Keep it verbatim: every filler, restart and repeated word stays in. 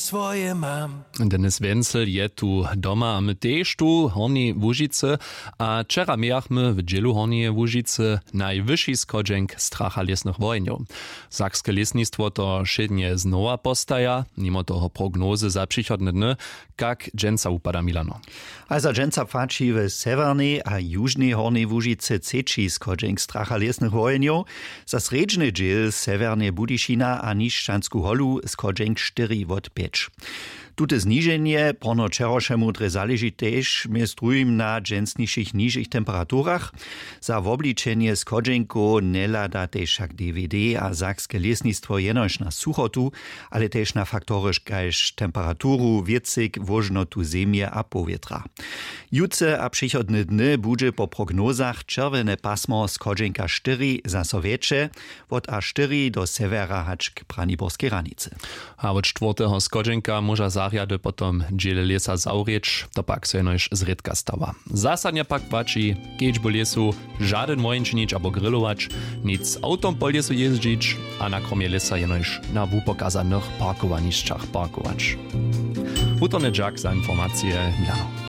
swoje mam. Denis Wenzel je tu doma a my tež tu w Hornjej Łužicy. A wčera mějachmy w dźělu Hornjeje Łužicy najwyši schodźenk stracha lěsnych wohenjow. Sakske lěsnistwo to wšědnje znowa postaja, nimo toho prognozy za přichodne dny. Kak dźensa wupada, Milano? A za dźensa płaći w sewjernej a južnej Hornjej Łužicy třeći schodźenk stracha lěsnych wohenjow, za srjedźny dźěl sewjerneje Budyšina a Nišćansku holu schodźenk štyri wot pjeć. Tute zniženje porno wčerawšemu drje zaleži tež mjez druhim na dźensnišich nižich temperaturach. Za wobličenje schodźenkow njehladate wšak D W D a sakske lěsnistwo jenož na suchotu, ale tež na faktory kaž temperaturu, wěcyk, włožnotu zemje a powětra. Jutře a přichodne dny budźe po prognozach čerwjene pasmo schodźenka štyri zaso wjetše, wot a štyri do sewjera hač k braniborskej hranicy. A wot štwórteho schodźenka móža zarjady potom dźěl lěsa zawrěć, to pak so jenož zrědka stawa. Zasadnje pak płaći, kedźbu lěsu žadyn wohenčinić abo grilować, nic z awtom po lěsu jězdźić a na kromje lěsa jenož na wupokazanych parkowanišćach parkować. Wutorny dźak za informacije, Milano.